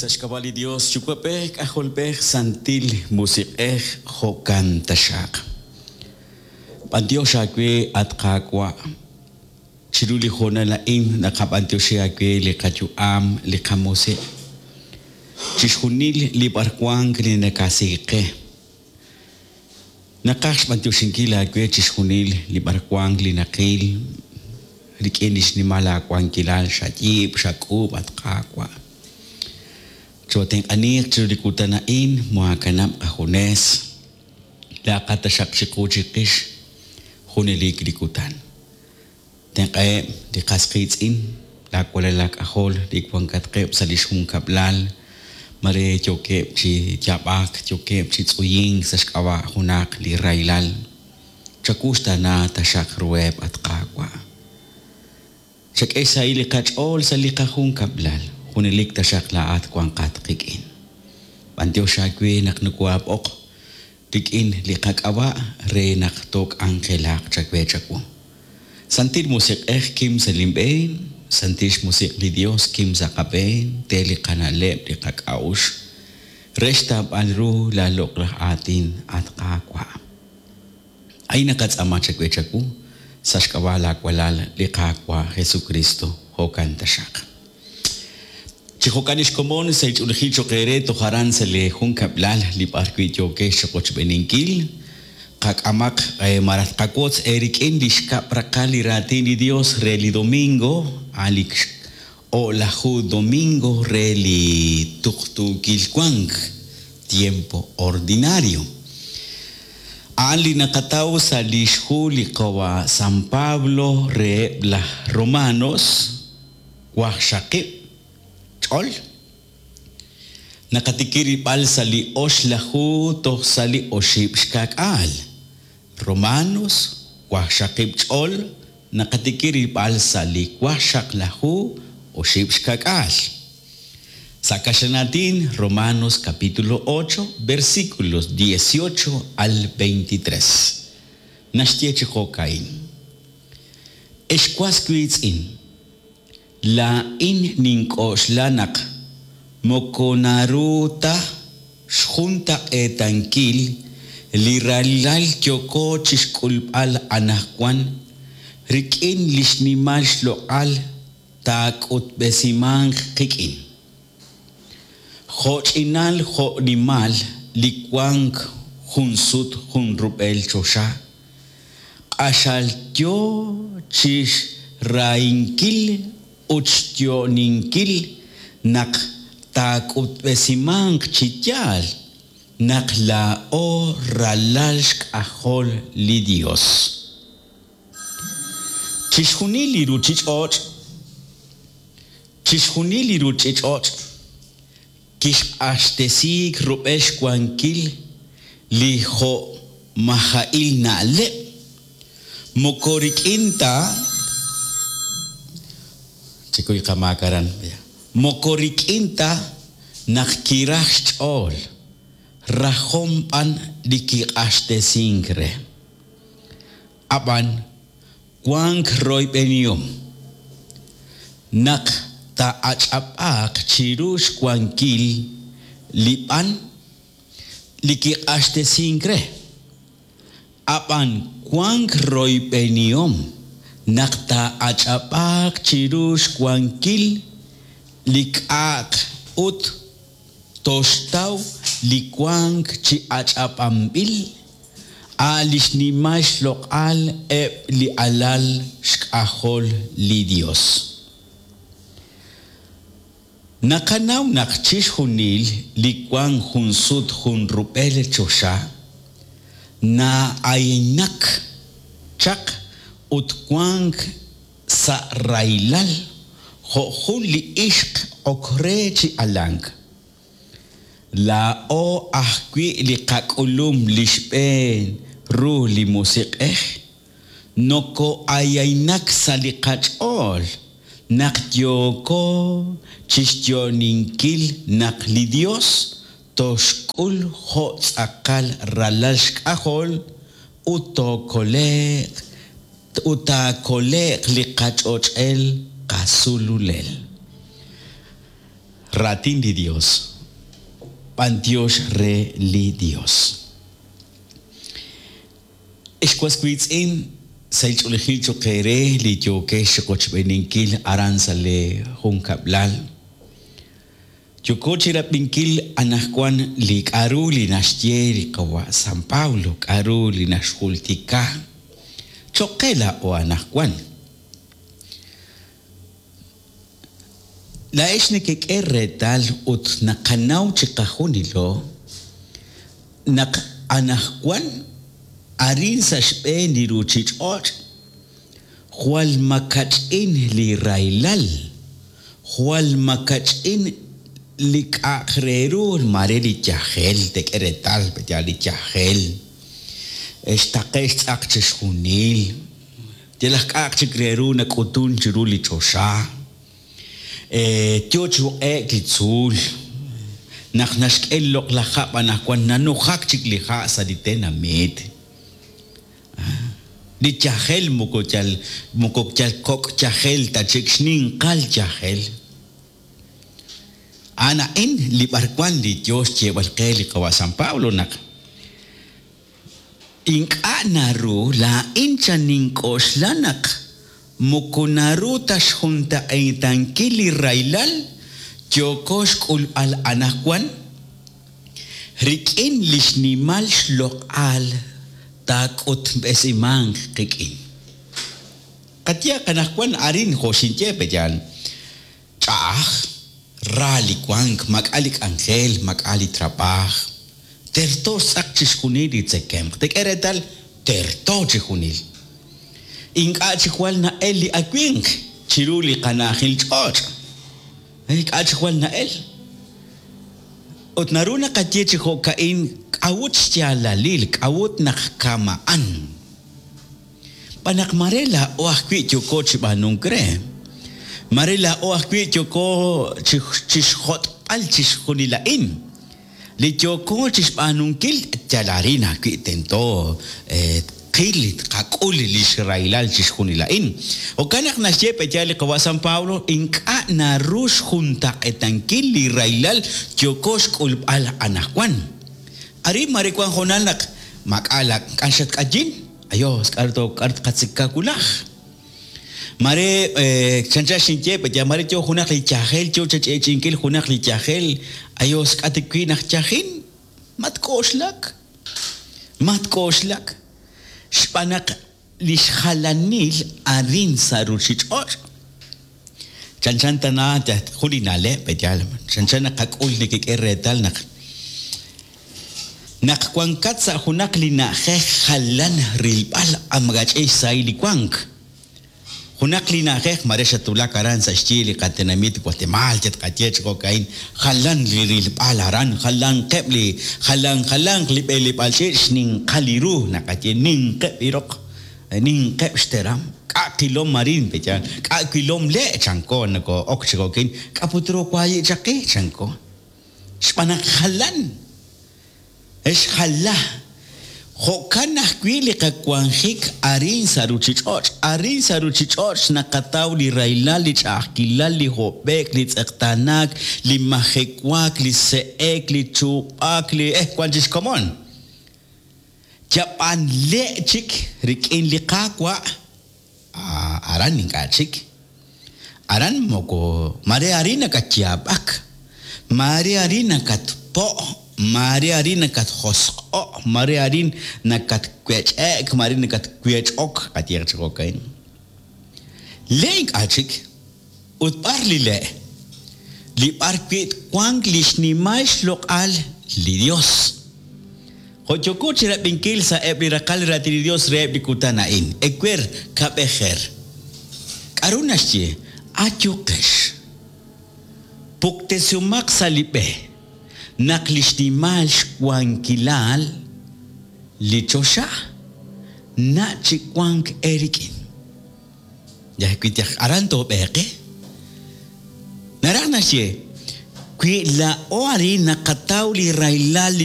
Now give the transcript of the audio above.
Sa' xk'ab'a' li Dios, Yuwa'b'ej, K'ajolb'ej, Santil Musiq'ej, jo'kan taxaq. B'antiox aawe, at Qaawa', chiru li hoonal a'in naqab'antioxi aawe li qayu'am, li qamusiq', chixjunil li b'arwank li nakasik qe. Naqaj xb'antioxinkil aawe chixjunil li b'arwank li naqil rik'in li xnimal aawankilal xayiib', xak'uub', at Qaawa'. Chootenq'aniiq chiru li kutan a'in, moohaakanab' qajunes, laa'aqat taxaq chiqu chiqix junelik li kutan. Tenq'aheb' li qas qiitz'in, laawalal laak'ajol li wankatqeb' sa' li xjunkab'lal, mare yookeb' chi yaab'ak, yookeb' chi tz'uyink sa' xk'ab'a' junaq li rahilal. Chawuxtaana taxaq ruheb', at Qaawa'. Chak'e xsahil li qach'ool sa' li qajunkab'lal, junelik taxaq laa'at wanqat qik'in. B'antiox aawe naq nokohaab'oq rik'in li qak'ab'a' re naq took'anjelaq chawe chawu. Santil Musiq'ej kim sa' linb'een, Santil xMusiq' li Dios kim sa' qab'een, te li qana'leb' li qak'a'uxl re xtawb'al ru laa loq'laj aatin, at Qaawa'. A'in naqatz'aama chawe chawu sa' xk'ab'a' laa walal li Qaawa' Jesukristo, jo'kan taxaq. Chi jo'kan li xkomon sa' ch'oolejil cho'q eere toj aran sa' lee junkab'lal li b'ar wi' yookex chiqochb'eeninkil, qak'amaq malaj tqawotz eerik'in li xkab' raqal li raatin li Dios re li domingo, a' li o'laju domingo re li tuqtuukil wank, tiempo ordinario. A'an li naqataw sa' li xhu li qawa' San Pablo reheb' laj Romanos, waqxaqib' ch'ol. Naqatikib' rilb'al sa' li oxlaju toj sa' li oxib' xka'k'aal. Romanos, waqxaqib' ch'ol, naqatikib' rilb'al sa' li waqxaqlaju oxib' xka'k'aal. Sa' kaxlanaatin, Romanos capítulo ocho, versículos dieciocho al veintitrés. Naxye chi jo'ka'in, Ex was wiitz'in, laa'in nink'oxla naq moko naru ta xjuntaq'eetankil li rahilal yooko chixk'ulb'al anajwan rik'in li xnimal xloq'al taak'utb'esimanq qik'in. Jo'ch'inal jo'nimal li wank jun sut jun rub'el choxa, q'axal yo chi xrahinkil ut xyo'ninkil naq taak'utb'esimanq chi yaal naq laa'o ralal xk'ajol li Yos. Chixjunil li ruuchich'och' Chixjunil li ruuchich'och' kixq'axtesiik rub'el xwankil li jo'maja'il na'leb', moko rik'in ta Chekuy qamaak aran, moko rik'in ta naq kiraj xch'ool, rajom b'an li kiq'axtesink re. Ab'an wank royb'enihom naq taa'ach'ab'aaq chiru xwankil li b'an li kiq'axtesink re. Ab'an wank royb'enihom naq taa'ach'ab'aaq chiru xwankil li k'a'aq ut toxtaw li wank chi ach'ab'anb'il, a' li xnimal xloq'al eb' li alal xk'ajol li Yos. Naqanaw naq chixjunil li wank jun sut jun rub'el choxa, na'aynak chaq ut wank sa' rahilal jo' jun li ixq ok re chi alank. Laa'o ajwi' li qak'ulum li xb'een ru li Musiq'ej, noko'ayaynak sa' li qach'ool naq yooko chixyo'ninkil naq li Dios toxk'ul jo' tz'aqal ralal xk'ajol ut tookole'q ut taakole'q li qach'och'el qasululel. Raatin li Dios. B'antiox re li Dios. Ex was wiitz'in, sahil ch'oolejil cho'q eere li yookex chi qochb'eeninkil aran sa' lee junkab'lal. Yooko chi rab'inkil anaqwan li k'a'ru li naxye li qawa' San Pablo, k'a'ru li naxjultika cho'q qe laa'o anaqwan. Laa'ex nekek'e reetal ut naqanaw chiqajunilo naq anaqwan arin sa' xb'een li ruuchich'och' jwal makach'in li rahilal, jwal makach'in li k'a'aq re ru, maare li yajel, teek'e reetal pe'yaal li yajel, xtaqe' xtz'aq chixjunil. Yalaq k'a'aq chik re ru nak'utun chiru li choxa. Yo chi uq'e'k li tzuul. Naq naxk'e li loq'laj hab' anaqwan nanujak chik li ha' sa' li tenamit. Li yajel moko yal moko yal kok' yajel ta chik, xninqal yajel. A'an a'in li b'arwan li yo xyeeb'al qe li qawa' San Pablo naq Ink'a' naru, laa'in chan nink'oxla naq moko naru ta xjuntaq'eetankil li rahilal yooko xk'ulb'al anaqwan rik'in li xnimal xloq'al taak'utb'esimanq qik'in. Qayehaq anaqwan arin jo' xinye pe yaal, Ch'a'aj, ra li wank, maak'a' li k'anjel, maak'a' li trab'aaj. Terto xtz'aq chixjunil li tzekemq. Teek'e reetal, terto chijunil. Ink'a' chi jwal na'el li awimq chiru li qana'ajil ch'och'. Ink'a' chi jwal na'el. Ut naru naqaye chi jo'ka'in k'a'ut xyaalalil, k'a'ut naq kama'an. Xb'aan naq mare laa'o ajwi' yooko chi b'aanunk re. Mare laa'o ajwi' yooko chixjot'b'al chixjunil a'in. Li yooko chixb'aanunkil yal arin ajwi' tento tqil, tqak'ul lix rahilal chixjunil a'in. Jo'kan naq naxye pe'yaal li Qawa' San Pablo, ink'a' naru xjuntaq'eetankil li rahilal yooko xk'ulb'al anaqwan. Arin mare wank hoonal naq maak'a' la k'an xatk'ayin. Ayos, k'aru to k'aru tqatzeka wulaj? Mare chanchan xinye pe'yaal mare yo junaq li yajel yo chach'eech'inkil junaq li yajel, ayos k'a' tik wi' naq yajin? Matk'oxlak, matk'oxlak, xb'aan naq li xjalanil arin sa' ruuchich'och' chanchan tana jun li na'leb' pe'yaal, chanchan naqak'ul nekek'e reetal naq Naq wankat sa' junaq li na'ajej jalan rilb'al amgach'e xsahil li wank. Junaq li na'ajej mare xatwulak aran sa' xyi li qatenamit Guatemaal yatqaye chi jo'ka'in, jalan li rilb'al aran, jalanqeb' li jalan jalanq li b'eleb'aal ch'iich' xninqal li ru naqaye ninqeb' li roq, ninqeb' xteram, k'a' qilom arin pe'yaal, k'a' wilom le' chanko nakoo'ok chi jo'ka'in, k'a' put ru waayi' chaq qe chanko. Xb'aan naq jalan, xjala. Jo'kan ajwi' li qawanjik arin sa' ruuchich'och'. Arin sa' ruuchich'och' naqataw li rahilal, li ch'a'ajkilal, li hob'e'k, li tz'eqtaanaak, li majewaak, li se'ek, li chuub'aak, li eh wank chi xkomon. Yab'an le' chik rik'in li Qaawa'. Aran ink'a' chik. Aran moko maare arin nakatyaab'ak, maare arin nakatpo', maare arin nakatjosq'o', maare arin nakatwech'e'k, maare nakatwech'ok, qayehaq chi jo'ka'in. Le' ink'a' chik. Ut b'ar li le'? Li b'ar wi' twanq li xnimal xloq'al li Yos. Jo' yooko chi rab'inkil sa'eb' li raqal Raatin li Yos reheb' li kutan a'in, ewer, kab'ejer. K'aru naxye? Ayuqex. Puktesihomaq sa' li b'e naq li xnimal xwankilal li choxa na' chi wank eerik'in. Yal wi yaj aran toob'eeqe. Naraj naxye, wi laa'o arin naqataw li rahilal li.